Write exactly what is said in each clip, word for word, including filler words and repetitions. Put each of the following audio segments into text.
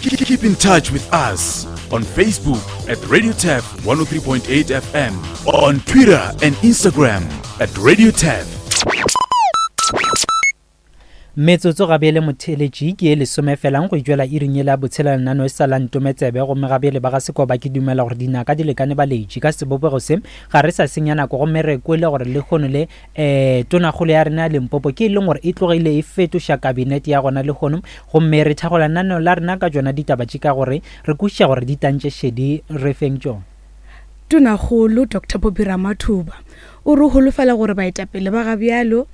Keep in touch with us on Facebook at Radio Turf one oh three point eight F M, on Twitter and Instagram at Radio Turf. Metsotso gabele motheletši ke e lesome felang go itšwela iring yela botshela lenano e sa la ntometsebe, gomme gabele ba ga Sekoba ke dumela gore dinaka di lekane baletši ka sebopego se ga re sa senya nako, gomme re kwele gore lehono le um tonakgolo ya rena ya Limpopo ke e leng gore e tlogile e fetoša kabinete ya gona lehono, gomme re thagola lenaneo la rena ka tšona ditaba tše ka gore re kwešiša gore di tantše šedi re feng tšona. Tonakgolo Doctor Phophi Ramathuba o re holofela gore baetapele ba gabjalo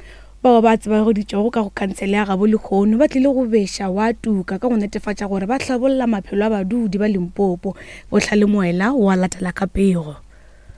bao ba tsebagaditšego ka go kansele ya gabo lehono ba tlile go beša wa tuka ka go netefatša gore ba hlabolla maphelo a badudi ba Limpopo. Bohlale Moela wa latela ka pego.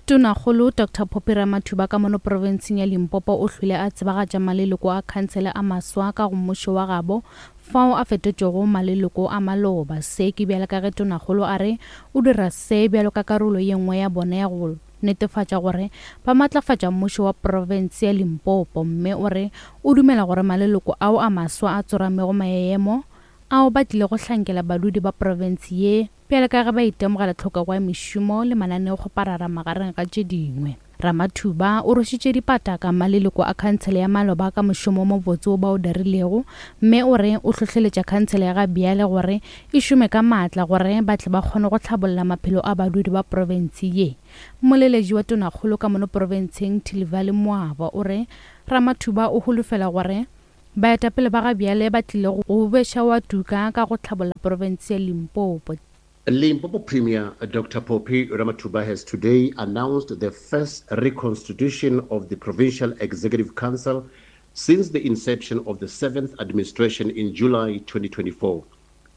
Tonakgolo Doctor Phophi Ramathuba ka mono profenseng ya Limpopo o hlwile a tsebagatša maleloko a khansele a maswa ka go mmušo wa gabo fao a fetotšego maleloko a maloba. Se ke bjalo ka ge tonakgolo a re o dira se bjalo ka karolo ye nngwe ya bona ya go netefatša gore ba matlafatša mmušo wa profense ya Limpopo, mme o re o dumela gore maleloko ao a maswa a tsoramego maemo ao ba tlile go hlankela badudi ba profense ye bjalo ka ge ba itemogela tlhokego ya mešomo le mananeokgoparara magareng ga tše dingwe. Ramathuba o rwešitše dipataka maleloko a khansele ya maloba ka mošomo o mobotse wo ba o dirilego, mme o re o hlohleletša khansele ya gabjale gore e šome ka maatla gore ba tle ba kgone go hlabolla maphelo a badudi ba profense ye. Moleletši wa tonakgolo ka mono profenseng Thilivhali Moaba o re Ramathuba o holofela gore baetapele ba gabjale ba tlile go beša wa tuka ka go hlabolla profense ya Limpopo. Limpopo Premier Doctor Phophi Ramathuba has today announced the first reconstitution of the Provincial Executive Council since the inception of the seventh administration in July twenty twenty-four.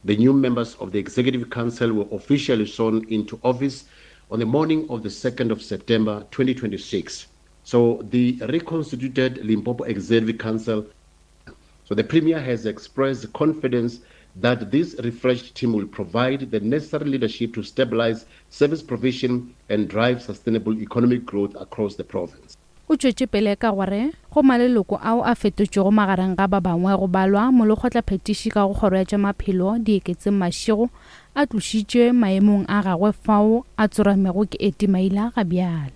The new members of the Executive Council were officially sworn into office on the morning of the second of September twenty twenty-six. So the reconstituted Limpopo Executive Council, so the Premier has expressed confidence that this refreshed team will provide the necessary leadership to stabilize service provision and drive sustainable economic growth across the province. O tšwetše pele ka gore go maleloko ao a fetotšego magareng ga ba bangwe go balwa molekgotlaphethiši ka go kgoro ya tša maphelo Dieketseng Mashego a tlošitšwe maemong a gagwe fao a tsoramego ke Eti Maila ga bjale.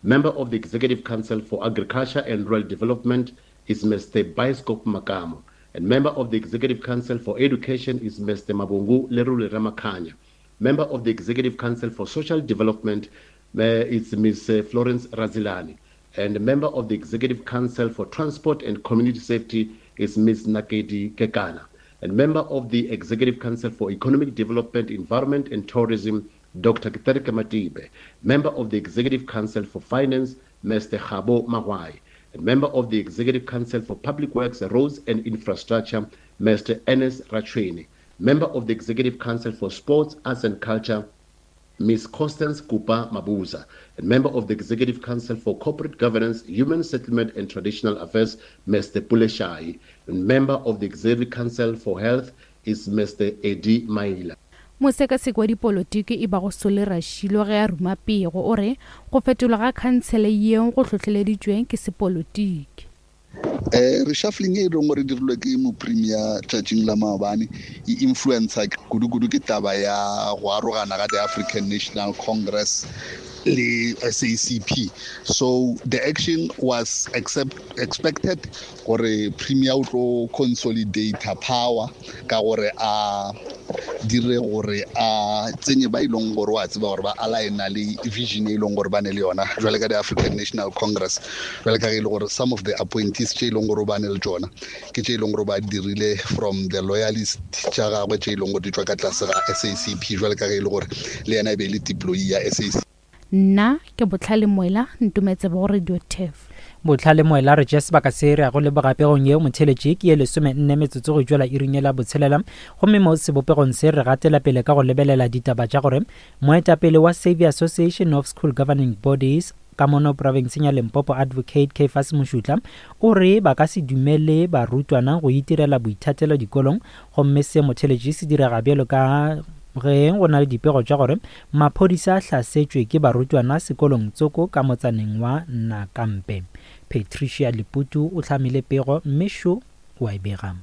Member of the Executive Council for Agriculture and Rural Development is Mister Bioscope Makamo, and member of the Executive Council for Education is Mister Mabungu Lerule Ramakhanya. Member of the Executive Council for Social Development, uh, is Miz Florence Razilani, and member of the Executive Council for Transport and Community Safety is Miz Nakedi Kekana, and member of the Executive Council for Economic Development, Environment and Tourism, Doctor Ketereke Matibe. Member of the Executive Council for Finance, Mister Khabo Magwai, and member of the Executive Council for Public Works, Roads and Infrastructure, Mister Ernest Rachweni. Member of the Executive Council for Sports, Arts and Culture, Miz Constance Kupa Mabuza, and member of the Executive Council for Corporate Governance, Human Settlement and Traditional Affairs, Mister Pule Shayi, and member of the Executive Council for Health is Mister Eddie Maila. Mosekaseki wa dipolotiki e bago Sole Rashilo ge a ruma pego o re go fetolwa ga khansele yeo go hlohleleditšwe ke sepolotiki. Eh, reshuffling e leng gore dirilwe ke mopremier tšatšing la maobane e influencer kudu-kudu ke taba ya go arogana ga the African National Congress le S A C P. So the action was accept, expected gore premier o tlo consolidate power ka gore a dire gore a tsenye ba ileng gore wa tseba gore ba aligna le vision e leng gore ba ne le yona jwale ka the African National Congress, jwale ka ge e le gore some of the appointees tše e leng gore ba ne le tšona ke tše e leng gore ba dirile from the loyalist tša gagwe tše e leng gore di tšwa ka tlase ga S A C P, jwale ka ge e le gore le yena e be e le deployee ya S A C P. Nna ke Botlhale Moela, ntumetse bo Radio Turf. Botlhale Moela re tšea sebaka se re ya go leboga pegong yeo motheletši ke ye lesome nne metsotso go tšwela iring ye la botshelela, gomme mo sebopegong se re gatela pele ka go lebelela ditaba tša gore moetapele wa Saviour Association of School Governing Bodies ka mono profenseng ya Limpopo Advocate Caiphus Mošutla o re ba ka se dumele barutwana go itirela boithatelo dikolong, gomme se motheletši se direga bjalo ka ge go na le dipego tša gore maphodisa a hlasetšwe ke barutwana sekolong tsoko ka motsaneng wa Nakampe. Patricia Leputu o hlamile pego mme šo wa e bega.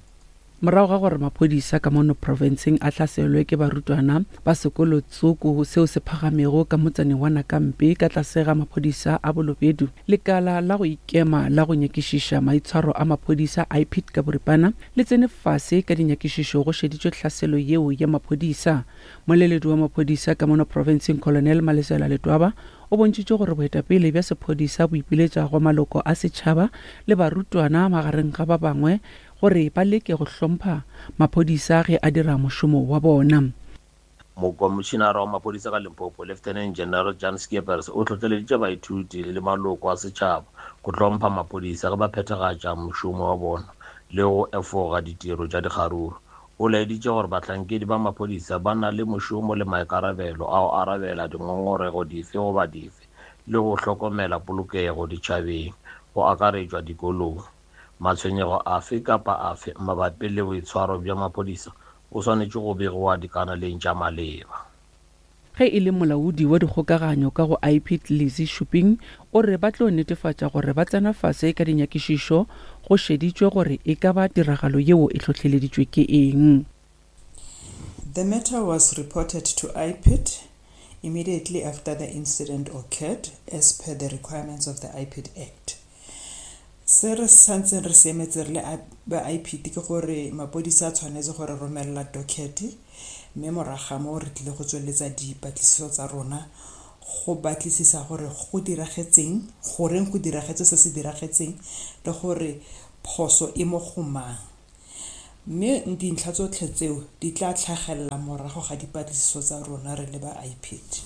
Morago ga gore maphodisa ka mono profenseng a hlaselwe ke barutwana ba sekolo tsoko seo se phagamego ka motsaneng wa Nakampe ka tlase ga maphodisa a Bolobedu, lekala la go ikema la go nyakišiša maitshwaro a maphodisa I P I D ka boripana le tsene fase ka dinyakišišo go šeditšwe tlhaselo yeo ya maphodisa. Moleledi wa maphodisa ka mono profenseng Colonel Malesela Letwaba o bontšhitše gore boetapele bja sephodisa bo ipiletša go maloko a setšhaba le barutwana magareng ga ba bangwe gore ba leke go hlompha maphodisa ge a dira mošomo wa bona. Mokomišenara wa maphodisa ka Limpopo, Lieutenant General Jan Scheepers, o hlohleleditše baithuti le maloko a setšhaba go hlompha maphodisa ge ba phethagatša mošomo wa bona le go efoga ditiro tša dikgaruru. O laeditše gore bahlankedi ba maphodisa ba na le mošomo le maikarabelo a go arabela dingongorego dife goba dife le go hlokomela polokego ditšhabeng, go akaretšwa dikolong. Matshwenyego afe kapa afe mabapi le boitshwaro bja maphodisa o swanetše go begiwa dikanaleng tša maleba. Ge e le molaodi wa dikgokaganyo ka go I P I D Lizzy Shuping o re ba tlo netefatša gore ba tsena fase ka dinyakišišo go šeditšwe gore e ka ba tiragalo yeo e hlohleleditšwe ke eng. The matter was reported to I P I D immediately after the incident occurred as per the requirements of the I P I D Act. Se re santseng re se emetse re le ba I P I D ke gore mapodisa a tshwanetse gore romelela docket, mme morago ga moo re tlile go tsweletsa dipatlisiso tsa rona go batlisisa gore go diragetseng, goreng go diragetse se se diragetseng, le gore phoso e mo go mang, mme dintlha tsotlhe tseo di tla tlhagelela morago ga dipatlisiso tsa rona re le ba I P I D.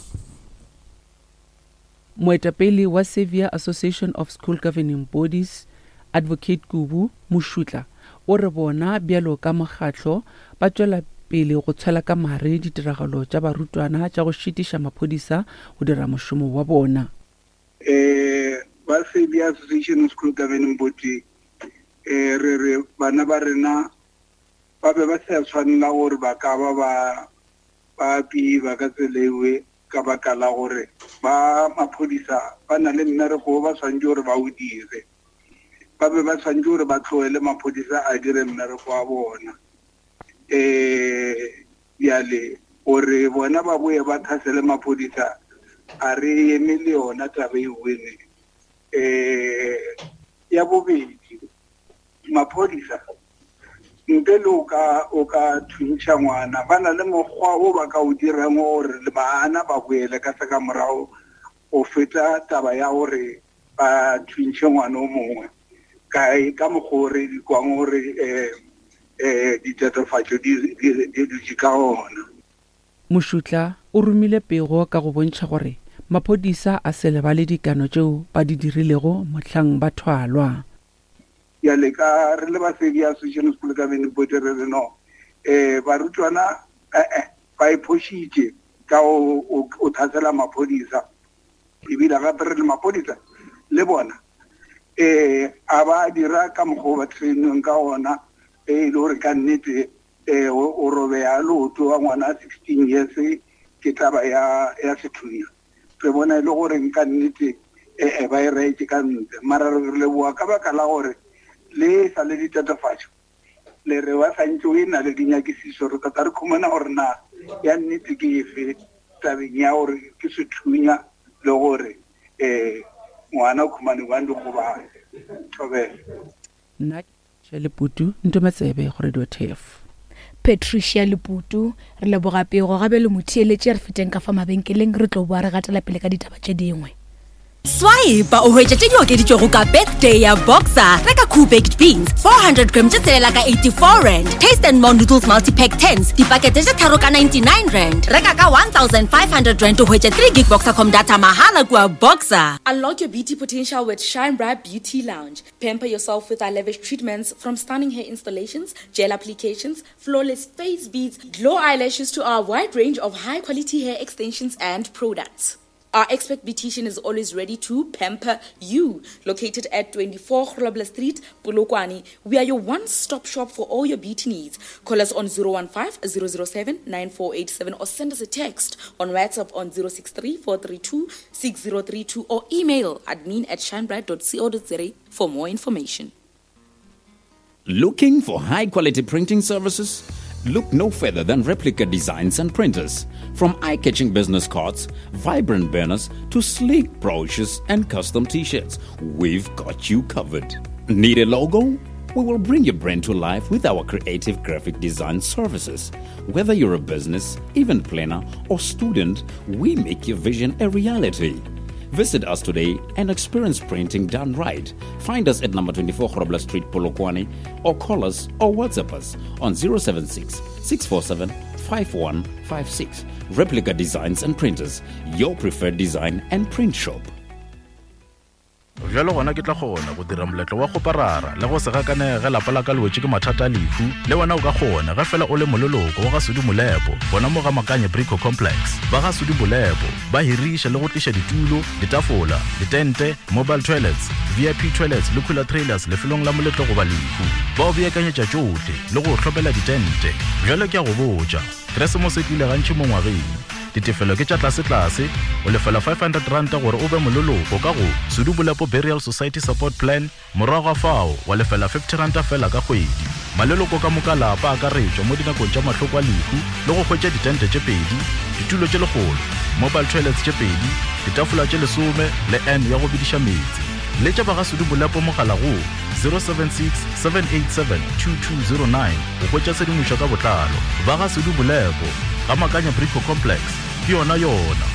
Moetapele wa Saviour Association of School Governing Bodies, Advocate Kubu Mošutla, o re bona bjalo ka mokgatlo ba tšwela pele go tshwela ka mare ditiragalo tša barutwana tša go šitiša maphodisa go dira mošomo wa bona. um ba Saviour Association of School Governing Body, um re re bana ba rena ba be ba sa tshwanela gore ba ka ba ba ba piba ka tsela ewe, ka baka la gore ba maphodisa ba na le mmereko o ba tshwanetse gore ba o dire. Ba be ba tshwanetse gore ba tlohele maphodisa a dire mmereko wa bona. um bjale gore bona ba boye ba tlhasele maphodisa, a re eme le yona taba e wene. um ya bobedi, maphodisa ntle le o ka o ka thuntšha ngwana, ba na le mokgwa o ba ka o dirang gore le bana ba boele ka se ka morago go feta taba ya gore ba thuntšhe ngwana o mongwe kae, ka mokgwa o re di kwang gore um um ditatofatšo di di dutše ka ona. Mošutla o romile pego ka go bontšha gore maphodisa a se lebale dikano tšeo ba di dirilego mohlang ba thwalwa. Bjale ka re le ba Saviour Association School Governing Body re re no, um barutwana ee ba iphošitše ka o tlhasela maphodisa, ebile gape re le maphodisa le bona um a ba dira ka mokgwa o ba trainweng ka ona, e le gore ka nnete um o robeya leoto wa ngwana sixteen years ke taba ya ya sethunya. Re bona e le gore ka nnete ee ba e reetse ka ntle, mara re leboa ka baka la gore le sa le ditatofatšo le re ba santse o e na le dinyakišišo. Re tata re khumana gore na ya nnete ke efe tabeng ya gore ke sethunya le gore um ngwana o khumane bang dikgobalo. Thobela. Nna Leputu Ntometsebe go Radio T F. Patricia Leputu, re leboga pego. Gabe le motheeletše, re feteng ka fa mabenkeleng, re tlo boa re gatela pele ka ditaba tše dingwe. Swipe o hwetša tše di okeditšwego ka birthday ya Boxer. Reka Cool Baked Beans four hundred gram tše tshelela ka eighty-four rand, Taste and More Noodles Multipack tens dipakete tše tharo ka ninety-nine rand. Reka ka one thousand five hundred rand o hwetše three gig Boxercom data mahala kua Boxer. Unlock your beauty potential with Shine Bright Beauty Lounge. Pamper yourself with our lavish treatments, from stunning hair installations, gel applications, flawless face beads, glow eyelashes to our wide range of high quality hair extensions and products. Our expert beautician is always ready to pamper you. Located at twenty-four Grobler Street, Polokwane, we are your one-stop shop for all your beauty needs. Call us on zero one five zero zero seven nine four eight seven or send us a text on WhatsApp on zero six three four three two six zero three two or email admin at shinebright dot co dot za for more information. Looking for high quality printing services? Look no further than Replica Designs and Printers. From eye catching business cards, vibrant banners, to sleek brochures and custom t shirts, we've got you covered. Need a logo? We will bring your brand to life with our creative graphic design services. Whether you're a business, event planner, or student, we make your vision a reality. Visit us today and experience printing done right. Find us at number twenty-four Grobler Street, Polokwane, or call us or WhatsApp us on zero seven six, six four seven, five one five six. Replica Designs and Printers, your preferred design and print shop. Bjalo gona ke tla kgona go dira moletlo wa go parara le go se gakanege lapa la ka le wetše ke mathata a lehu. Le wena o ka kgona ge fela o le moleloko wa ga Sudi Molepo gona mo ga Makanye Brico Complex. Ba ga Sudi Molepo ba hiriša le go tliša ditulo, ditafola, ditente, mobile toilets, V I P toilets le cooler trailers lefelong la moletlo goba lehu. Ba o beakanyetša tšohle le go hlopela ditente. Bjalo ke a go botša, Keresemose e tlile gantši mo ngwageng. Ditefelo ke tša tlase-tlase, o lefela five hundred rand gore o be moleloko ka go Sudi Molepo Burial Society Support Plan, morago ga fao wa lefela fifty rand fela ka kgwedi. Maleloko ka moka lapa a akaretšwa mo dinakong tša mahloko a lehu le go hwetša ditente tše pedi, ditulo tše lekgolo, mobile toilets tše pedi, ditafola tše lesome le N ya go bidiša meetse. Letša ba ga Sudi Molepo mogala go zero seven six, seven eight seven, two two zero nine go hwetša tshedimošo ka botlalo. Ba ga Sudi Molepo ga Makanya Brico Complex ke yona yona.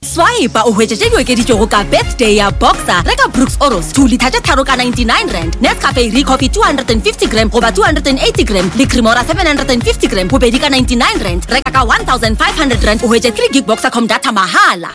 Swipe o hwetše tše di okeditšwego ka birthday ya Boxer. Reka Brooks Oros two litre tše tharo ka ninety-nine rand, Nescafe Recoffee two hundred and fifty gram goba two hundred and eighty gram le Cremora seven hundred and fifty gram bobedi ka ninety-nine rand. Reka ka one thousand five hundred rand o hwetše three gig Boxercom data mahala.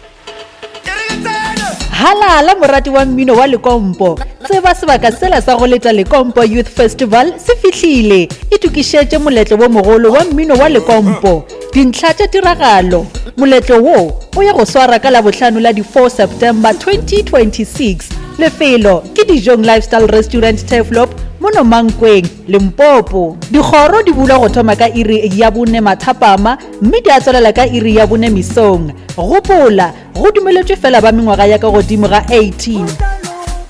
Halala morati wa mmino wa Lekompo. Tseba sebaka sela sa go leta Lekompo Youth Festival se fihlile. Itokišetše moletlo wo mogolo wa mmino wa Lekompo. Dintlha tša tiragalo. Moletlo wo o ya go swara ka Labohlano la di four September twenty twenty-six. Lefelo ke Dijong Lifestyle Restaurant Turfloop mono Mankweng, Limpopo. Dikgoro di bulwa go thoma ka iri ya bone mathapama mme di a tswelela ka iri ya bone mesong. Gopola, go dumeletšwe fela ba mengwaga ya ka godimo ga eighteen.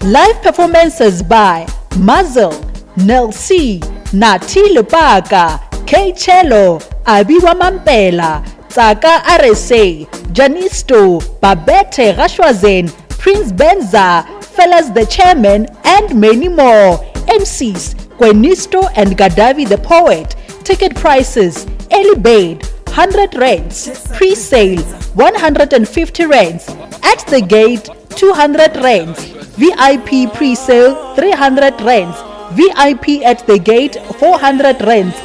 Live performances by Muzzle, Nel C, Nati Lepaka, K Cello, Abiwa Mampela, Tsaka R S A, Janisto, Babette Rashwazen, Prince Benza, Fellas the Chairman, and many more. M Cs, Gwenisto and Gadavi the Poet. Ticket prices, early bird, one hundred rands, pre-sale, one hundred and fifty rands, at the gate, two hundred rands, V I P pre-sale, three hundred rands, V I P at the gate, four hundred rands.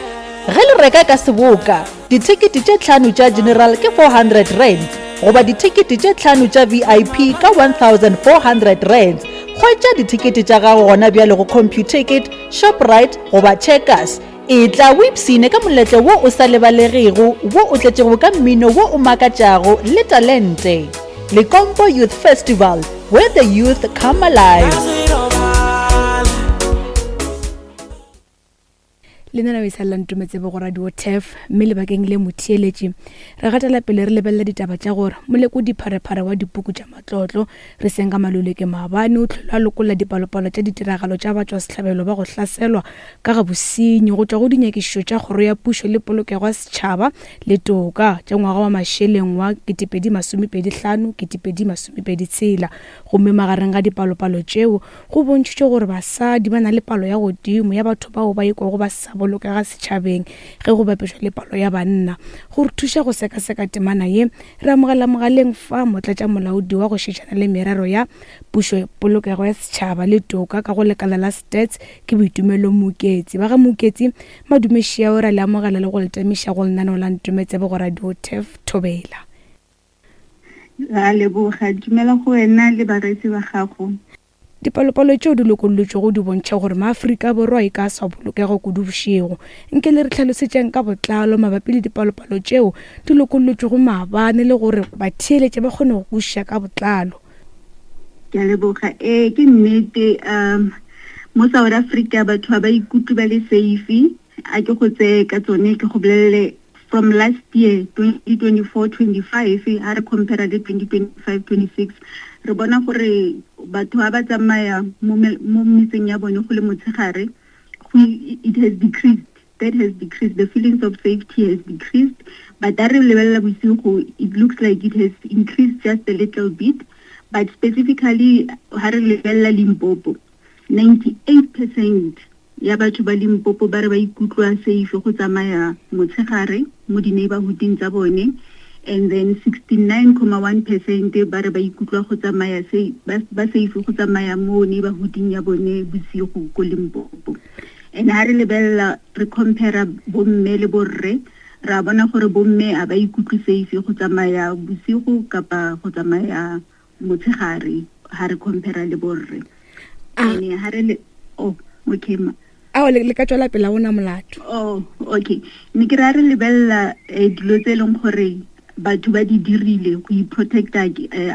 Ge le reka ka seboka, dithekete tše tlhano tša general ke four hundred rands, goba dithekete tše tlhano tša V I P ka one thousand four hundred rands. Hwetša dithekete tša gago gona bjale go Computicket, Shoprite goba Checkers. E tla o ipshine ka moletlo wo o sa lebalegego, wo o tletšego ka mmino wo o makatšago le talente. Lekompo Youth Festival, where the youth come alive. Le nna o sa Ntometse go radio T E F mme lebakeng le motheeletši re gatela pele re lebelela ditaba tša gore molekodi pharephare wa dipuku tša matlotlo re seng ka Maluleke maabane o tlhola a lokolla dipalopalo tša ditiragalo tša batšwasehlabelo ba go hlaselwa ka ga bosenyi go tšwa go dinyakišišo tša kgoro ya pušo le polokego ya setšhaba le toka tša ngwaga wa mašeleng wa ketepedi masomepedi hlano ketepedi masomepedi tshela. Gomme magareng ga dipalopalo tšeo go bontšhitšwe gore basadi ba na le palo ya godimo ya batho bao ba ikwago ba sa bolokega setšhabeng ge go bapešwa le palo ya banna. Go re thuša go sekaseka temana ye re amogela mogaleng fa motlatša molaodi wa go šetšana le merero ya pušo polokego ya setšhaba le toka ka go lekala la Stats ke Boitumelo Moketsi. Ba ga Moketsi madumešia o re le amogela le go letamiša go lenaneo la Ntometsebe go radio T E F Thobela. Ra leboga, dumela go wena le bareetsi ba gago. Dipalopalo tšeo di lokollotšwego di bontšha gore maAfrika Borwa e ka sa bolokego kudu bošego. Nke le re tlhalosetšeng ka botlalo mabapi le dipalopalo tšeo di lokollotšwego maabane le gore batheeletše ba kgone go kwešiša ka botlalo. Ke a leboga. Ee, ke nnete, um mo South Africa batho ba ba ikutlwe ba le safe. A ke go tseye ka tsone ke go bolelele from last year twenty twenty-four twenty-five ha re compare le twenty twenty-five twenty-six re bona gore batho ba ba tsamaya mo metseng ya bone go le motshegare it has decreased. That has decreased. The feelings of safety has decreased. But ha re lebelela bosigo, it looks like it has increased just a little bit. But specifically, ha re lebelela Limpopo, ninety-eight percent ya batho ba Limpopo ba re ba ikutlwa safe go tsamaya motshegare mo di-neighborhooding tsa bone, and then sixty-nine comma one percent ba re ba ikutlwa go tsamaya ba, ba safe go tsamaya mo neighborhooding ya bone bosigo ko Limpopo. And ha re lebelela re compare bomme le borre, ra bona gore bomme a ba ikutlwe safe go tsamaya bosigo kapa go tsamaya motshegare ha re compare le borre. And ha re le oh okay ma ao le ka tswela pele ona molato. Oh okay, ne ke ra re lebella dilo tse leng gore batho ba di dirile go iprotect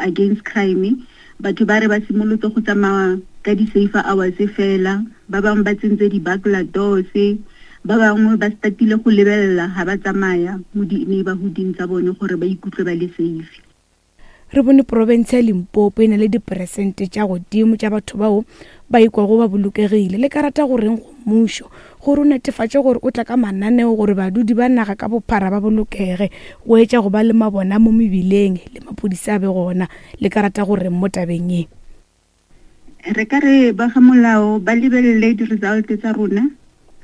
against crime. Batho ba re ba simolotse go tsamaya ka di-safer hours fela, ba bangwe ba tsentse di-burglar doors, ba bangwe ba statile go lebelela ha ba tsamaya mo di-neighborhooding tsa bone gore ba ikutlwe ba le safe. Re bone province ya Limpopo e na le diperesente tša godimo tša batho bao ba ikwago ba bolokegile. Le ka rata goreng go mmušo gore o netefatše gore o tla ka mananeo gore badudi ba naga ka bophara ba bolokege, go etša go ba le mabona mo mebileng le maphodisa a be gona. Le ka rata goreng mo tabeng ye? Re ka re ba ga molao ba lebelele di-result tsa rona,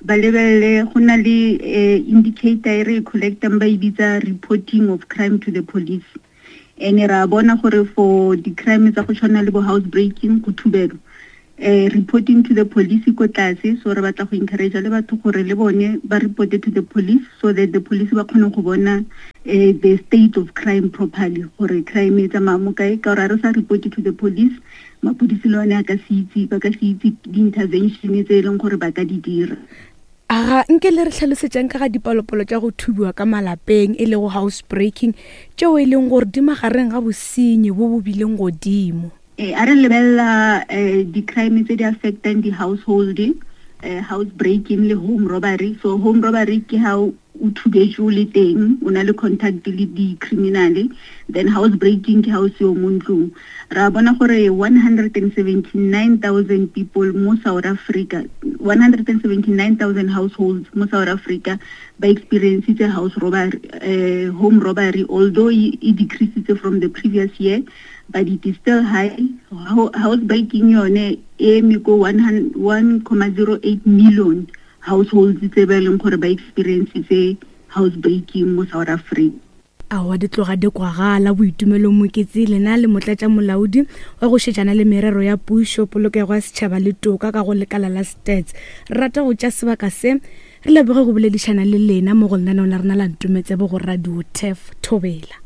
ba lebelele go na le indicator e re e collectang ba e bitsa reporting of crime to the police. And ra bona gore for di-crime tsa go tshwana le bo house breaking, go thubelo, eh reporting to the police ko tlase. So re batla go encourage le batho gore le bone ba report to the police so that the police ba kgone go bona eh the state of crime properly, gore crime e tsamaya mo kae. Ka gore re sa report to the police, mapodisi le one a ka se itse, ba ka se itse di-intervention tse e leng gore ba ka di dira. Aga nke le re tlhalosetšang ka ga dipalopalo tša go thubiwa ka malapeng e lego house breaking tšeo e leng gore di magareng ga bosenyi bo bo bileng godimo. Eh a re lebelela di-crime tse di affectang di-household, eh house breaking le home robbery. So home robbery ke ha o thubetše o le teng, o na le contact le di-criminal. Then house breaking ke ha o seo mo ntlong. Ra bona gore one hundred seventy-nine thousand people mo South Africa, one hundred seventy-nine thousand households mo South Africa ba experienced house robbery, uh, home robbery, although it decreased from the previous year, but it is still high. House breaking yone e eme ko one point zero eight million households tse ba leng gore ba experience house breaking mo South Africa. Aowa di tloga di kwagala. Boitumelo Moketsi lena le motlatša molaodi wa go šetšana le merero ya pušo, polokego ya setšhaba le toka ka go lekala la Stats. Re rata go tša sebaka se re leboge go boledišana le lena mo go lenaneo la rena la Ntometsebo go Radio T E F Thobela.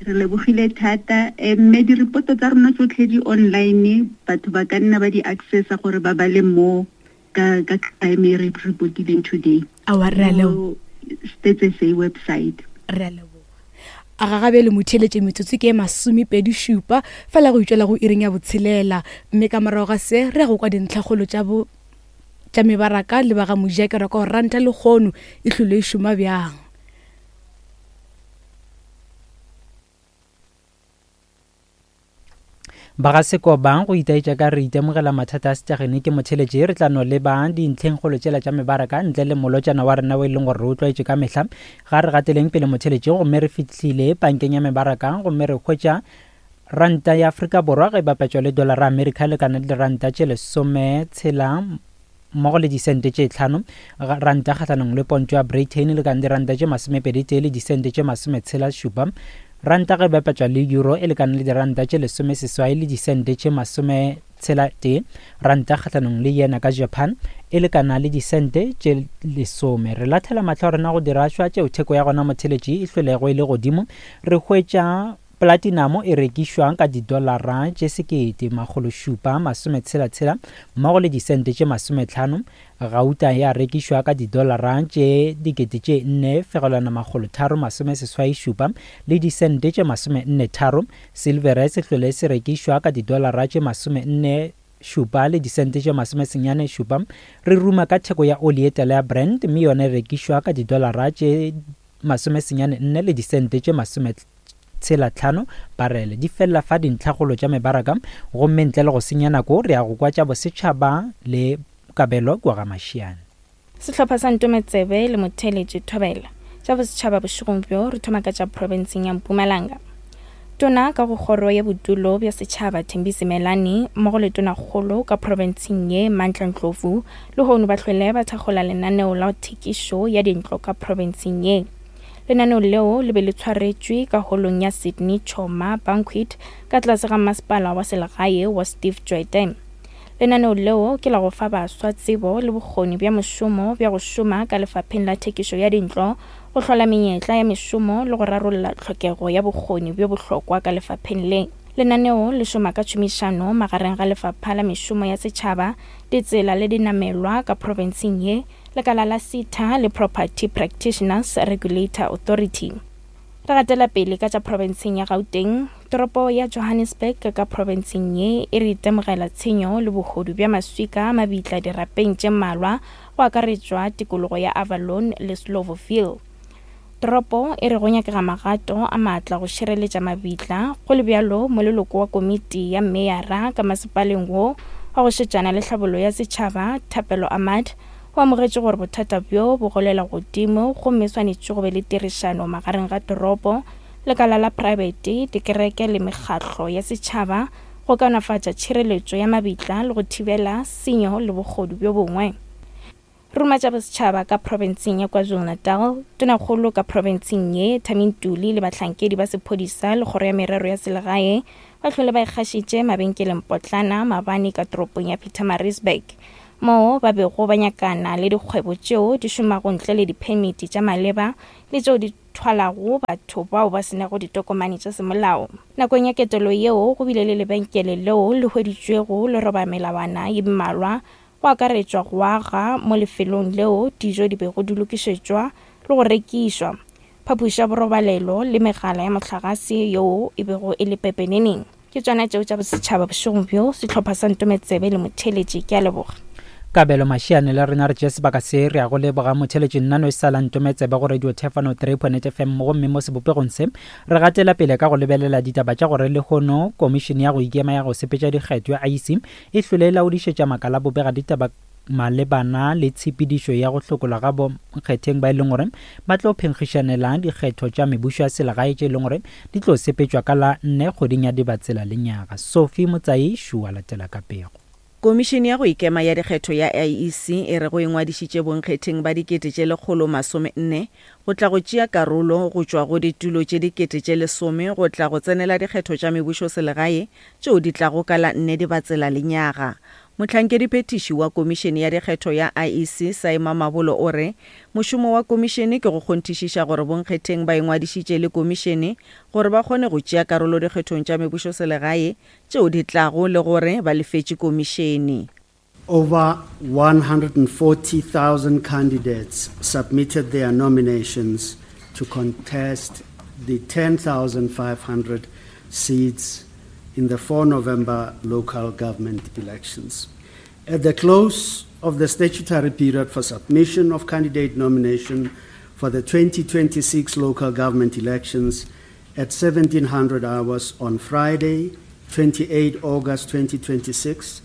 Re lebogile thata, mme diripoto tsa rona tsotlhe di online, batho ba ka nna ba di accessa gore ba bale mo ka ka crime e re reportileng today. Aowa re a leboga. Stats S A website. Re a leboga. A ga gabe le motheletše metsotso ke masomepedi šupa fela go itšwela go iring ya botshelela, mme ka morago ga se re ya go kwa dintlhakgolo tša bo tša mebaraka le ba ga mojakero ka go ranta lekgono e hlole e šoma bjang. Ba ga Sekobang go itaetša ka re itemogela mathata a setšagene ke motheletše. Re tla no leba dintlhengkgolo tšela tša mebaraka ntle le molotšana wa rena o e leng gore re o tlwaetše ka mehla. Ga re gateleng pele motheletše, gomme re fihlile bankeng ya mebaraka, gomme re hwetša ranta ya Afrika Borwa ge e bapetšwa le dollara Amerika lekana le ranta tše lesome tshela mmogo le disente tše tlhano, ranta kgahlanong le pontšo ya Britain lekana le ranta tše masomepedi tee le disente tše masometshela šupa, ranta ge bapetšwa le euro e lekana le diranta tše lesome seswai le disente tše masome tshela tee, ranta kgahlanong le yena ka Japan e lekana le disente tše lesome. Re lathela mahlo a rena go dirašwa tšeo theko ya gona motheletši e hlwelego e le godimo. Re hwetša platinum e rekišwang ka didolara tše sekete makgolo šupa masome tshela tshela mmogo le disente tše masometlhano. Gauta ya rekišwa ka didolara tše dikete tše nne fegelwana makgolo tharo masome seswai šupa le disente tše masome nne tharo. Silvere se hlwele se rekišwa ka didolara tše masome nne šupa le disente tše masome senyane šupa. Re ruma ka theko ya oli e tala ya Brent, mme yona e rekišwa ka didolara tše masome senyane nne le disente tše masome tshela tlhano barele. Di fella fa dintlhakgolo tša mebaraka, gomme ntle le go senya nako re ya go kwa tša bosetšhaba le Kabelo kwa ga Mashiane. Sehlopha sa Ntometsebe le Motheletši Thobela. Tša bosetšhaba bošegong bjo re thoma ka tša profenseng ya Mpumalanga. Tona ka go kgoro ya bodulo bja setšhaba Thembi Simelane mmogo le tonakgolo ka profenseng ye Mandla Ndlovu lehono ba hlwele ba thakgola lenaneo la thekišo ya dintlo ka profenseng ye. Lenaneo leo le be le tshwaretšwe ka holong ya Sydney Choma Banquet ka tlase ga masepala wa selegae wa Steve Tshwete. Lenaneo leo ke la go fa baswa tsebo le bokgoni bja mošomo bja go šoma ka lefapheng la thekišo ya dintlo, go hlola menyetla ya mešomo le go rarolla tlhokego ya bokgoni bjo bohlokwa ka lefapheng le. Lenaneo le šoma ka tšhomišano magareng ga lefapha la mešomo ya setšhaba, ditsela le dinamelwa ka profenseng ye, lekala la SETA le Property Practitioners Regulator Authority. Re gatela pele ka tša profenseng ya Gauteng, toropo ya Johannesburg ka profenseng ye e re itemogela tshenyo le bohodu bja maswika mabitla dirapeng tše mmalwa go akaretšwa tikologo ya Avalon le Slovoville. Toropo e re go nyakega magato a maatla go šireletša mabitla, go le bjalo moleloko wa komiti ya meyara ka masepaleng wo wa go šetšana le tlhabollo ya setšhaba Thapelo Ahmad o amogetše gore bothata bjo bo golela godimo gomme swanetše go be le tirišano magareng ga toropo, lekala la praebete, dikereke le mekgatlo ya setšhaba go kaonafatša tšhireletšo ya mabitla le go thibela senyo le bogodu bjo bongwe. Ruma tša bosetšhaba ka profenseng ya KwaZulu-Natal, tonakgolo ka profenseng ye Thami Ntuli le bahlankedi ba sephodisa le kgoro ya merero ya selegae ba hlole ba ikgašitše mabenkeleng potlana maabane ka toropong ya Pietermaritzburg, moo ba bego ba nyakana le dikgwebo tšeo di šomago ntle le diphemiti tša maleba le tšeo di thwalago batho bao ba senago ditokomane tša semolao. Nakong ya ketelo yeo go bile le lebenkele leo le hweditšwego le roba melawana ye mmalwa go akaretšwa go aga mo lefelong leo dijo di bego di lokišetšwa le go rekišwa, phapoši ya borobalelo le megala ya mohlagase yeo e bego e le pepeneneng. Ke tšona tšeo tša bosetšhaba bošegong bjo. Sehlopha sa Ntometsebe le Motheletši, ke a leboga. Kabelo Mashiane le rena re tšea sebaka se re ya go leboga motheletši nnano e sa la Ntometsebe go Radio Thefano three point eight F M. Gomme mo sebopegong se re gatela pele ka go lebelela ditaba tša gore lehono komišene ya go ikema ya go sepetša dikgetho ya I E C e hlwele e laodišetša makala bobega ditaba malebana le tshepedišo ya go hlokolwa ga bonkgetheng ba e leng gore ba tlo phenkgišanela dikgetho tša mebušo ya selegae tše e leng gore di tlo sepetšwa ka la nne kgweding ya Dibatsela lenyaga. Sophie Motsai šua latela ka pego. Komišene ya go ikema ya dikgetho ya I E C e re go ingwadišitše bonkgetheng ba dikete tše lekgolo masome nne go tla go tšea karolo go tšwa go ditulo tše dikete tše lesome go tla go tsenela dikgetho tša mebušo selegae tšeo di tlago ka la nne Dibatsela lenyaga. Mohlankedi-phethiši wa komišene ya dikgetho ya I E C Saima Mabolo o re mošomo wa komišene ke go kgonthišiša gore bonkgetheng ba ingwadišitše le komišene gore ba kgone go tšea karolo dikgethong tša mebušo selegae tšeo di tlago le gore ba lefetše komišene. Over one hundred forty thousand candidates submitted their nominations to contest the ten thousand five hundred seats in the four November local government elections. At the close of the statutory period for submission of candidate nomination for the twenty twenty-six local government elections at seventeen hundred hours on Friday, twenty-eight August twenty twenty-six,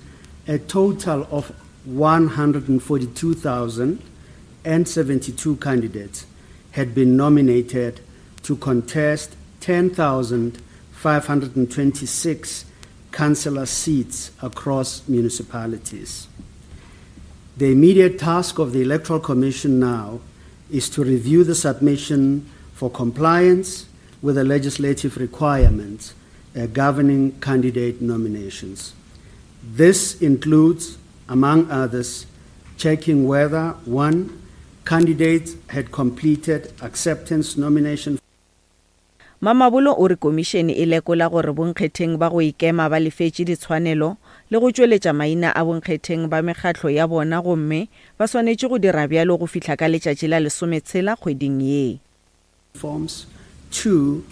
a total of one hundred forty-two thousand seventy-two candidates had been nominated to contest ten thousand five hundred twenty-six councillor seats across municipalities. The immediate task of the Electoral Commission now is to review the submission for compliance with the legislative requirements, uh, governing candidate nominations. This includes, among others, checking whether, one, candidates had completed acceptance nomination. Mamabolo o re komišene e lekola gore bonkgetheng ba go ikema ba lefetše ditshwanelo le go tšweletša maina a bonkgetheng ba mekgatlo ya bona gomme ba swanetše go dira bjalo go fihla ka letšatši la lesometshela kgweding ye. Forms. Two,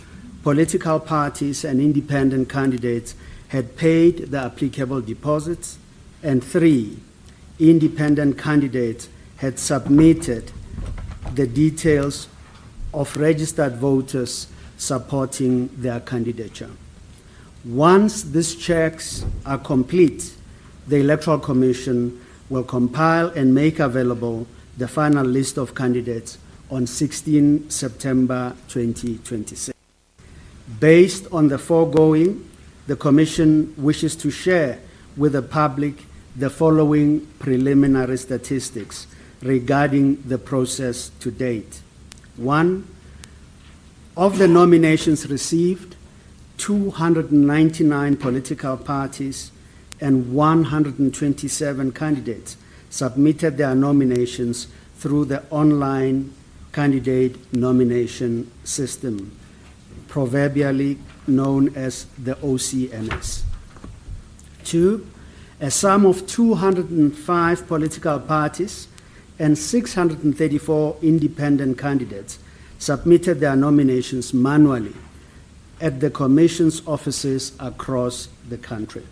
political parties and independent candidates had paid the applicable deposits. And three, independent candidates had submitted the details of registered voters supporting their candidature. Once these checks are complete, the Electoral Commission will compile and make available the final list of candidates on sixteen September twenty twenty-six. Based on the foregoing, the Commission wishes to share with the public the following preliminary statistics regarding the process to date. One, of the nominations received, two hundred ninety-nine political parties and one hundred twenty-seven candidates submitted their nominations through the online candidate nomination system, proverbially known as the O C N S. Two, a sum of two hundred five political parties and six hundred thirty-four independent candidates submitted their nominations manually at the Commission's offices across the country.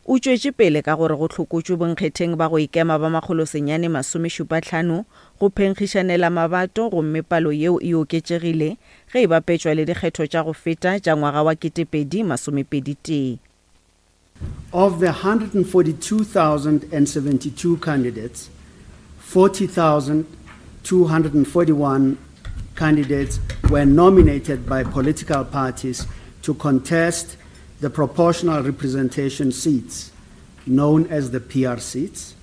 O tšwetše pele ka gore go hlokotšwe bonkgetheng ba go ikema ba makgolo senyane masomešupa hlano go phenkgišanela mabato, gomme palo yeo e oketšegile ge e bapetšwa le dikgetho tša go feta tša ngwaga wa ketepedi masomepedi tee. Of the hundred forty-two thousand seventy-two candidates, forty thousand two hundred forty-one candidates were nominated by political parties to contest the proportional representation seats, known as the P R seats,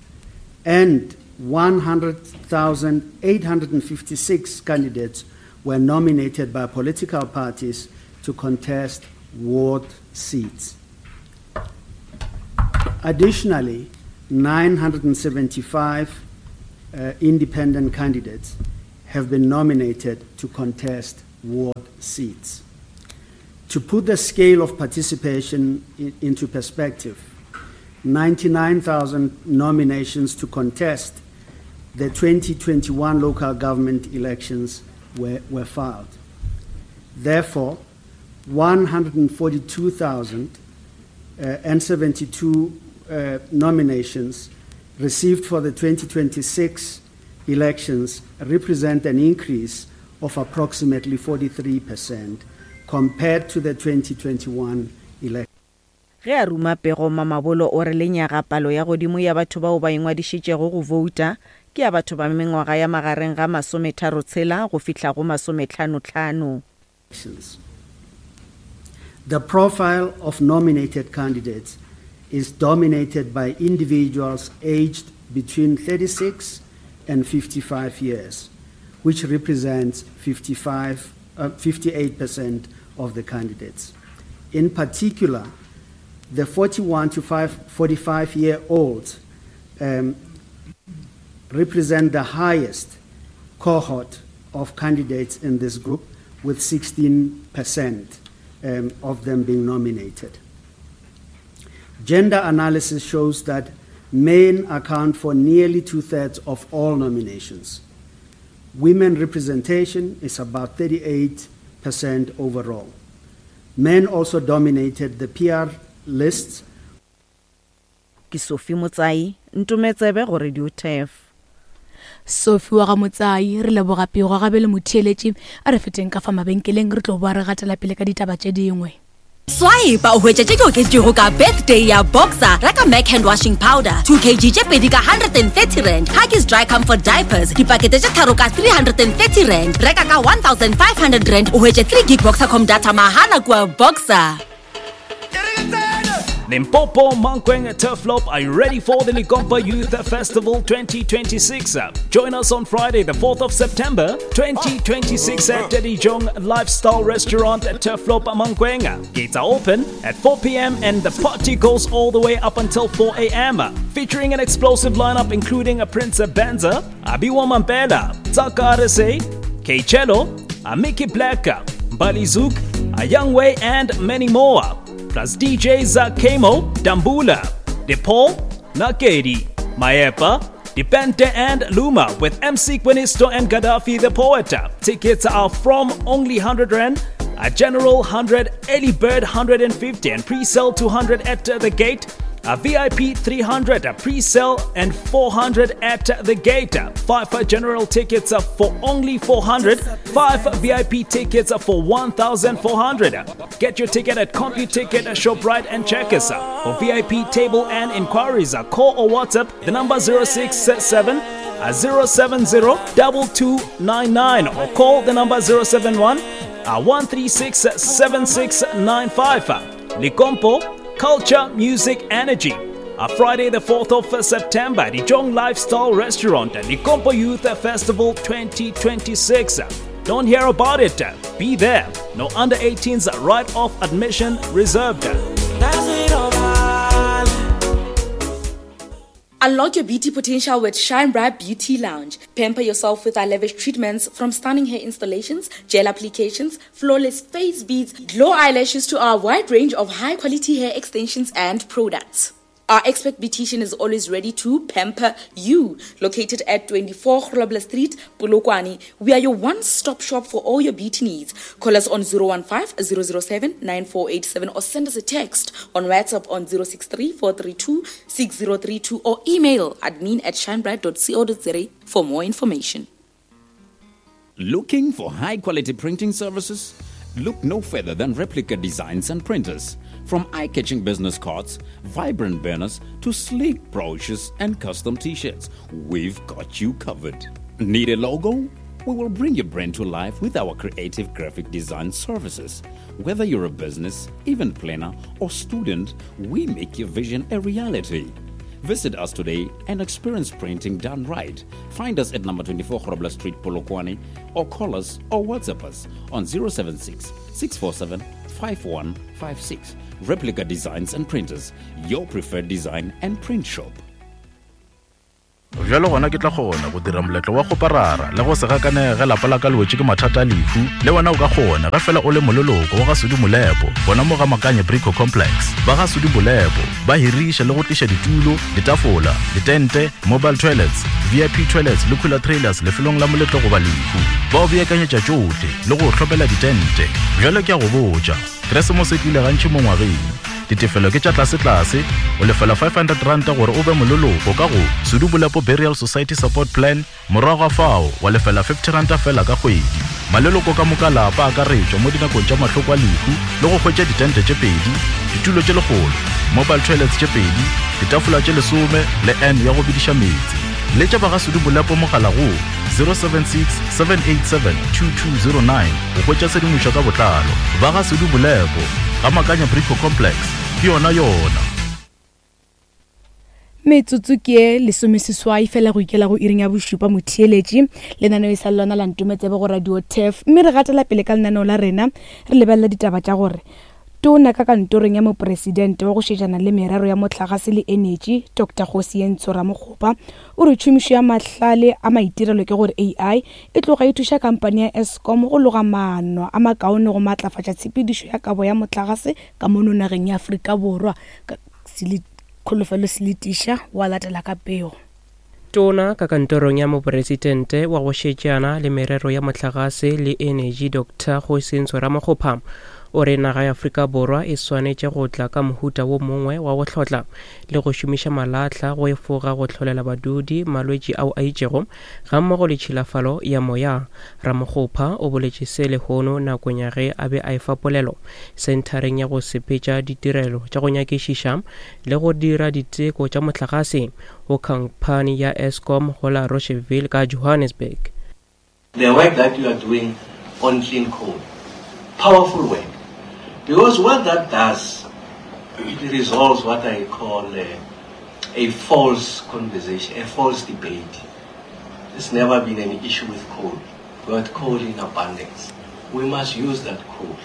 and one hundred thousand eight hundred fifty-six candidates were nominated by political parties to contest ward seats. Additionally, nine hundred seventy-five, uh, independent candidates have been nominated to contest ward seats. To put the scale of participation in, into perspective, ninety-nine thousand nominations to contest the twenty twenty-one local government elections were, were filed. Therefore, one hundred forty-two thousand seventy-two uh, nominations received for the twenty twenty-six elections represent an increase of approximately forty-three percent compared to the twenty twenty-one election. Ge a ruma pego Mamabolo o re lenyaga palo ya godimo ya batho bao ba ingwadišitšego go vouta ke ya batho ba mengwaga ya magareng ga masometharo tshela go fihla go masometlhanotlhano. The profile of nominated candidates is dominated by individuals aged between thirty-six and fifty-five years, which represents fifty-five, uh, fifty-eight percent of the candidates. In particular, the forty-one to forty-five-year-olds um, represent the highest cohort of candidates in this group, with sixteen percent um, of them being nominated. Gender analysis shows that men account for nearly two-thirds of all nominations. Women representation is about thirty-eight percent overall. Men also dominated the P R lists. Ke Sophie Motsai, ntometsebe go Radio T E F. Sophie wa ga Motsai, re leboga pego gabe le motheeletši, a re feteng ka fa mabenkeleng re tlo boa re gatela pele ka ditaba tše dingwe. Swipe o hwetša tše di oketšego ka birthday ya Boxer. Reka Mac hand washing powder two kilograms tše pedi ka one hundred thirty rand, Huggies dry comfort diapers dipakete tše tharo ka three hundred thirty rand, reka ka one thousand five hundred rand o hwetše three gig Boxercom data mahala kua Boxer. Limpopo, Mankweng, Turfloop, are you ready for the Lekompo Youth Festival twenty twenty-six? Join us on Friday, the fourth of September, twenty twenty-six at Dijong Lifestyle Restaurant at Turfloop, Mankweng. Gates are open at four p.m. and the party goes all the way up until four a.m. Featuring an explosive lineup including a Prince Benza, Abiwa Mampela, Tsaka Arese, K-Cello, Amiki Black, Balizuk, Ayangwe, and many more. Plus D Js Kemo, Dambula, DePaul, Nakedi, Maepa, Dipente and Luma with M C Quinisto and Gaddafi the Poet. Tickets are from only one hundred rand, a general one hundred, early bird one hundred fifty and pre-sale two hundred at the gate. A V I P three hundred, pre-sale and four hundred at the gate. Five general tickets for only four hundred, five V I P tickets for one thousand four hundred. Get your ticket at CompuTicket, ShopRite and Checkers. For V I P table and inquiries, call or WhatsApp the number zero six seven zero seven zero two two nine nine or call the number zero seven one one three six seven six nine five. Lekompo, Culture, Music, Energy. A Friday the fourth of September, the Jong Lifestyle Restaurant, Lekompo Youth Festival twenty twenty-six. Don't hear about it. Be there. No under eighteens, right off admission reserved. Unlock your beauty potential with Shine Bright Beauty Lounge. Pamper yourself with our lavish treatments, from stunning hair installations, gel applications, flawless face beads, glow eyelashes to our wide range of high-quality hair extensions and products. Our expert beautician is always ready to pamper you. Located at twenty-four Grobler Street, Polokwane, we are your one-stop shop for all your beauty needs. Call us on zero one five, zero zero seven, nine four eight seven or send us a text on WhatsApp on zero six three, four three two, six zero three two or email admin at shinebright dot co dot za for more information. Looking for high-quality printing services? Look no further than Replica Designs and Printers. From eye-catching business cards, vibrant banners, to sleek brochures and custom t-shirts, we've got you covered. Need a logo? We will bring your brand to life with our creative graphic design services. Whether you're a business, event planner, or student, we make your vision a reality. Visit us today and experience printing done right. Find us at number twenty-four Grobler Street, Polokwane, or call us or WhatsApp us on zero seven six, six four seven, five one five six. Replica Designs and Printers, your preferred design and print shop. Bjalo gona ke tla kgona go dira moletlo wa go parara le go se gakanege lapa la ka le wetše ke mathata a lehu. Le wena o ka kgona ge fela o le moleloko wa ga Sudi Molepo, bona mo ga Makanye Brico Complex. Ba ga Sudi Molepo ba hiriša le go tliša ditulo, ditafola, ditente, mobile toilets, V I P toilets le cooler trailers lefelong la moletlo goba lehu. Ba o beakanyetša tšohle le go hlopela ditente. Bjalo ke a go botša, Keresemose e tlile gantši mo ngwageng. Ditefelo ke tša tlase-tlase, o lefela five hundred rand gore o be moleloko ka go Sudi Molepo Burial Society Support Plan, morago ga fao wa lefela fifty rand fela ka kgwedi. Maleloko ka moka lapa a akaretšwa mo dinakong tša mahloko a lehu le go hwetša ditente tše pedi, ditulo tše lekgolo, mobile toilets tše pedi, ditafola tše lesome le N ya go bidiša meetse. Letša ba ga Sudi Molepo mogala go zero seven six, seven eight seven, two two zero nine go hwetša tshedimošo ka botlalo. Ba ga Sudi Molepo ga Makanya Brico Complex, ke yona yona. Metsotso ke lesomeseswai fela go ikela go iring ya bošupa motheeletši. Lenaneo e sa le lona la Ntometsebe go Radio Turf, mme re gatela pele ka lenaneo la rena re lebelela ditaba tša gore tona ka kantorong ya mopresidente wa go šetšana le merero ya motlakase le energy Doctor Kgosientsho Ramokgopa o re tšhomišo ya mahlale a maitirelo ke gore A I e tloga e thuša kampani ya Eskom go loga maano a makaone go matlafatša tshepedišo ya kabo ya motlakase ka mono nageng ya Afrika Borwa. Kholofelo Seletiša wa latela ka pego. Tona ka kantorong ya mopresidente wa go šetšana le merero ya motlakase le energy Doctor Kgosientsho Ramokgopa o re naga ya Afrika Borwa e swanetše go tla ka mohuta wo mongwe wa go hlotla le go šomiša malahla go efoga go hlolela badudi malwetši ao a itšego gammogo le tšhilafalo ya moya. Ramokgopa o boletše se lehono nakong ya ge a be a efa polelo senthareng ya go sepetša ditirelo tša go nyakišiša le go dira diteko tša motlakase go khamphani ya Eskom go la Rocheville ka Johannesburg. The work that you are doing on clean coal, powerful work. Because what that does, it resolves what I call a, a false conversation, a false debate. There's never been any issue with coal. We got coal in abundance. We must use that coal,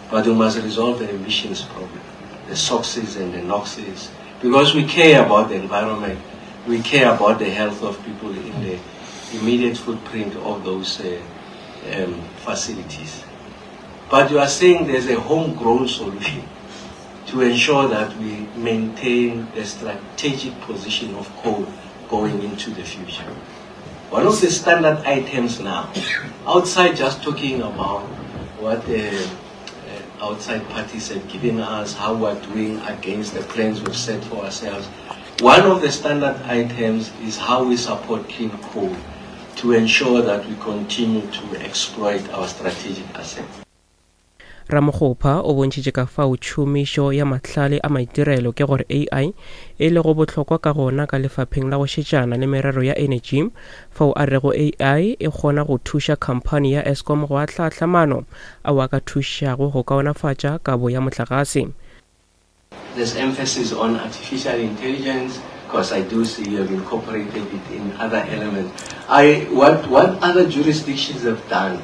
but we must resolve the emissions problem, the SOxes and the NOxes, because we care about the environment, we care about the health of people in the immediate footprint of those uh, um, facilities. But you are saying there's a homegrown solution to ensure that we maintain the strategic position of coal going into the future. One of the standard items now, outside just talking about what uh, uh, outside parties have given us, how we're doing against the plans we've set for ourselves. One of the standard items is how we support clean coal to ensure that we continue to exploit our strategic assets. Ramokgopa o bontšhitše ka fao tšhomišo ya mahlale a maitirelo ke gore A I e lego bohlokwa ka gona ka lefapheng la go šetšana le merero ya energy, fao a rego A I e kgona go thuša khamphani ya Eskom go ahlaahla maano ao a ka thušago go kaonafatša kabo ya mohlagase. There's emphasis on artificial intelligence, because I do see you have incorporated it in other elements. I, what, what other jurisdictions have done,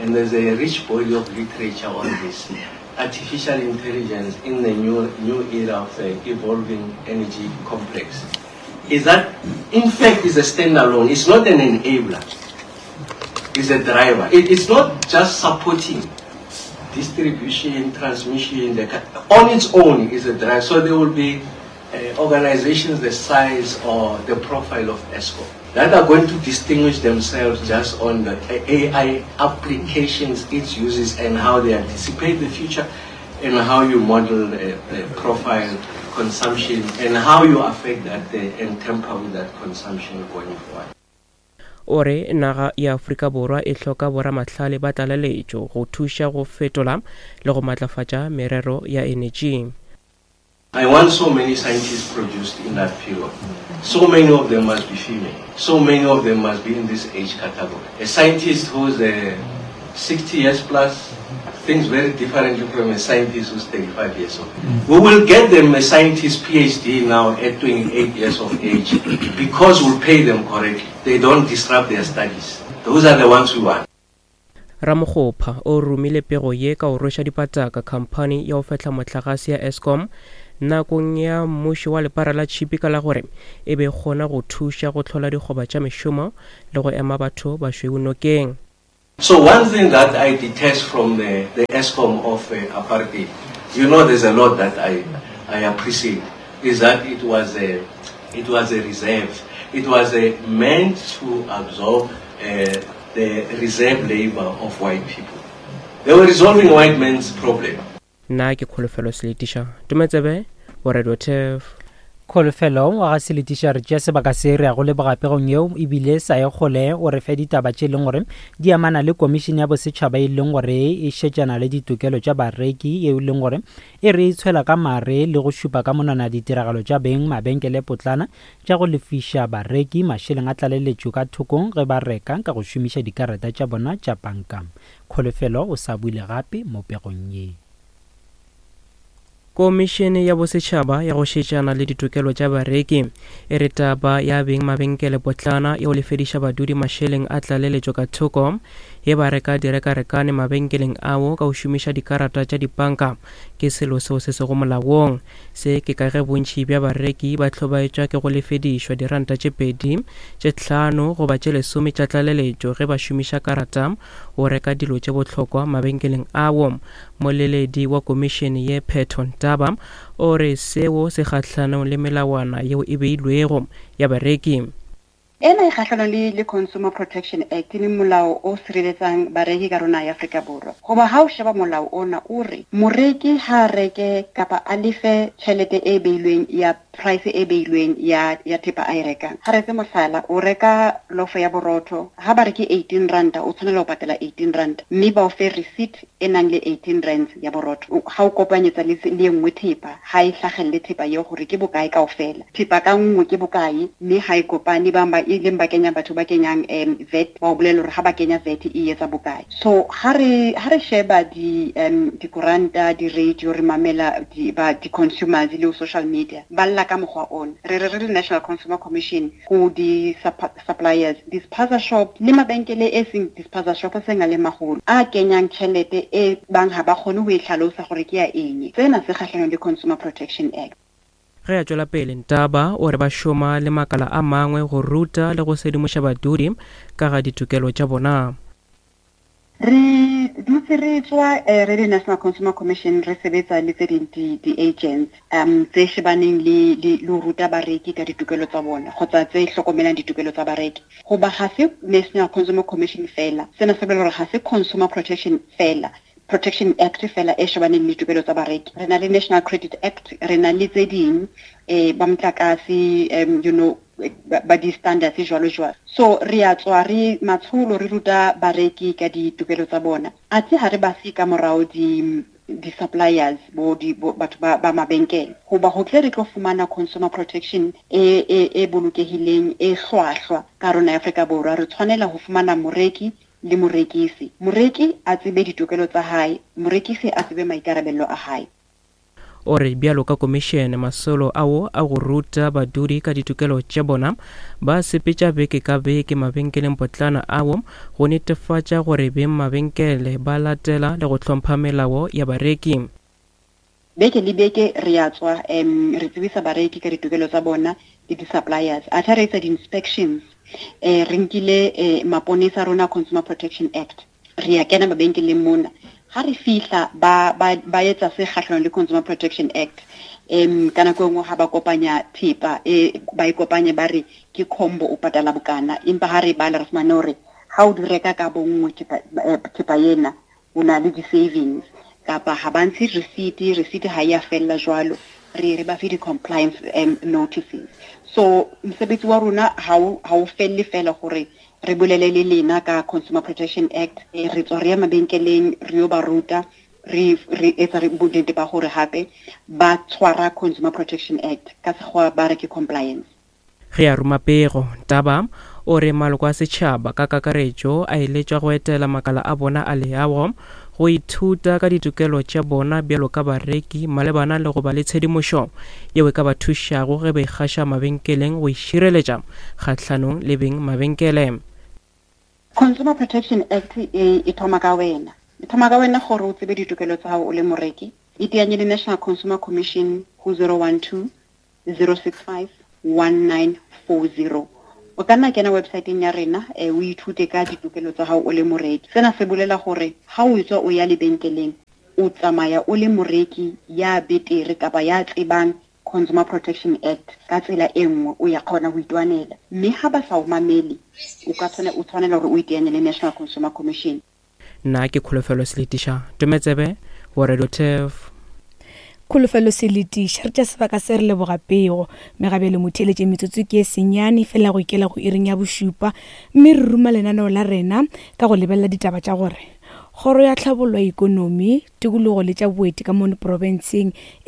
and there's a rich body of literature on this, artificial intelligence in the new, new era of the evolving energy complex, is that in fact is a standalone. It's not an enabler. It's a driver. It, it's not just supporting distribution, transmission, the, on its own is a driver. So there will be Uh, organizations the size or the profile of Eskom that are going to distinguish themselves just on the A I applications it uses and how they anticipate the future and how you model the, the profile consumption and how you affect that uh, and temper with that consumption going forward. O re naga ya Afrika Borwa e hloka boramahlale ba tlaleletšo go thuša go fetola le go matlafatša merero ya energy. I want so many scientists produced in that period. So many of them must be female. So many of them must be in this age category. A scientist who's uh, sixty years plus thinks very differently from a scientist who's thirty-five years old. We will get them a scientist P H D now at twenty-eight years of age because we'll pay them correctly. They don't disrupt their studies. Those are the ones we want. Ramokgopa o romile pego ye ka go rweša dipataka khamphani ya go fehla mohlagase ya Eskom nakong ya mmušo wa lepara la tšhipi ka la gore e be kgona go thuša go hlola dikgoba tša mešomo le go ema batho bašweu nokeng. So one thing that I detest from the, the Eskom of uh, apartheid, you know there's a lot that I, I appreciate, is that it was a, it was a reserve. It was a meant to absorb uh, the reserve labor of white people. They were resolving white men's problem. Nna ke Kholofelo Seletiša, Tumetsebe, wa Radio T E F. Kholofelo wa ga Seletiša, re tšea sebaka se re ya go leboga pegong yeo ebile sa ye kgole o re fe ditaba tše leng gore di amana le komišene ya bosetšhaba e leng gore e šetšana le ditokelo tša bareki, yeo e leng gore e re tshwela ka mare le go šupa ka monwana ditiragalo tša beng mabenkele potlana tša go lefiša bareki mašeleng a tlaleletšo ka thokong ge ba reka ka go šomiša dikarata tša bona tša banka. Kholofelo o sa buile gape mo pegong ye. Komišene ya bosetšhaba ya go šetšana le ditokelo tša bareki e re taba ya beng mabenkele potlana ya go lefediša badudi mašeleng a tlaleletšo ka thoko ye ba reka direkarekane mabenkeleng ao ka go šomiša dikarata tša dipanka ke selo seo se sego molaong. Se ke ka ge bontši bja bareki ba hlobaetšwa ke go lefedišwa diranta tše pedi, tše hlano goba tše lesome tša tlaleletšo ge ba šomiša karata go reka dilo tše bohlokwa mabenkeleng ao. Moleledi wa komišene ye Phetho Ntaba o re seo se kgahlanong le melawana yeo e beilwego ya bareki. Ena e kgahlanong le le Consumer Protection Act, e leng molao o sireletsang bareki ka rona ya Afrika Borwa. Goba ha o sheba molao ona o re moreki ha a reke kapa a lefe tjhelete e beilweng ya price e beilweng ya ya thepa a e rekang. Ha re etse mohlala, o reka lofo ya borotho, ha ba re ke eighteen ranta, o tshwanela ho patala eighteen ranta, mme ba o fe receipt e nang le eighteen rands ya borotho. Ha o kopanyetsa le le e nngwe thepa, ha e hlagelle thepa eo hore ke bokae kaofela. Thepa ka nngwe ke bokae, mme ha e kopane bang ba e leng ba kenya batho ba kenyang um V A T, ba o bolella hore ha ba kenya V A T e etsa bokae. So ha re ha re sheba di um dikoranta, di-radio, re mamela di ba di-consumers le social media, ba lla ka mokgwa ona. Re re re le National Consumer Commission ho di suppliers, di-spaza shop le mabenkele e seng di-spaza shop a seng a le maholo a kenyang tjhelete e bang ha ba kgone ho e hlalosa hore ke ya eng. Sena se kgahlanong le Consumer Protection Act. Ge a tšwela pele, Ntaba o re ba šoma le makala a mangwe go ruta le go sedimoša badudi ka ga ditokelo tša bona. Re dutse re tswa re le National Consumer Commission, re sebetsa le tse ding di-agents um tse shebaneng le le ho ruta bareki ka ditokelo tsa bona kgotsa tse hlokomelang ditokelo tsa bareki. Hoba ha se National Consumer Commission fela, sena se bolela hore ha se Consumer Protection fela. Protection Act fela e shebaneng le ditokelo tsa bareki. Re na le National Credit Act, re na le tse ding eh ba motlakase, um you know ba di-standards jwalo jwalo. So re a tswa re matsholo re ruta bareki ka ditokelo tsa bona. Athe ha re ba siye ka morao di di-suppliers bo di bo batho ba ba mabenkele, hoba ho tle re tlo fumana consumer protection e e e bolokehileng e hlwahlwa ka rona ya Afrika Borwa, re tshwanela ho fumana moreki le morekisi. Moreki a tsebe ditokelo tsa hae, morekisi a tsebe maikarabelo a hae. O re bjalo ka komišene masolo ao a go ruta badudi ka ditokelo tša bona ba sepetša beke ka beke mabenkeleng potlana ao go netefatša gore beng mabenkele ba latela le go hlompha melao ya bareki. Beke le beke re a tswa, um re tsebisa bareki ka ditokelo tsa bona le di-suppliers. Athe re etsa di-inspections, eh re nkile eh, maponesa rona Consumer Protection Act, re a kena mabenkeleng mona. Ha re fihla ba ba ba etsa se kgahlanong le Consumer Protection Act, em ka nako e nngwe ha ba kopanya thepa e ba e kopanye ba re ke combo o patala bokana, empa ha re bala re fumane hore ha o di reka ka bonngwe thepa, eh, thepa ena o na le di-savings, kapa ha ba ntshe receipt, receipt ha e a fella jwalo, re re ba fe di-compliance um, notices. So mosebetsi wa rona ha o ha o felle fela hore re bolele le lena ka Consumer Protection Act, eh, re tswa re ya mabenkeleng re yo ba ruta, re re etsa re bonnete ba hore hape ba tshwara Consumer Protection Act ka sekgowa ba re ke compliance. Ge a ruma pego, Taba o re maloko a setšhaba ka kakaretšo a eletšwa go etela makala a bona a leago go ithuta ka ditokelo tša bona bjalo ka bareki malebana le go ba le tshedimošo yeo e ka ba thušago ge ba ikgaša mabenkeleng go išireletša kgahlanong le beng mabenkele. Consumer Protection Act e, e thoma ka wena. E thoma ka wena gore o tsebe ditokelo tsa gago o le moreki. Iteanye le National Consumer Commission ho zero one two, zero six five, one nine four zero. O ka nna kena website-eng ya rena, eh, o ithute ka ditokelo tsa gago o le moreki. Sena se bolela gore ha o tswa o ya lebenkeleng, o tsamaya o le moreki ya betere kapa ya tsebang Consumer Protection Act ka tsela e nngwe, o ya kgona ho itwanela. Mme ha ba sa o mamele, o ka tshwane-, o tshwanela hore o iteanye le National Consumer Commission. Nna ke Kholofelo Seletiša, Tometsebe wa Radio Turf. Kholofelo Seletiša, re tša sebaka se re leboga pego. Megabelo motheeletše metsotso ke e senyane fela go ikela go iring ya bošupa, mme re ruma lenaneo la rena ka go lebelela ditaba tša gore kgoro ya tlhabollo ya ikonomi, tikologo le tša boeti ka mono profenseng e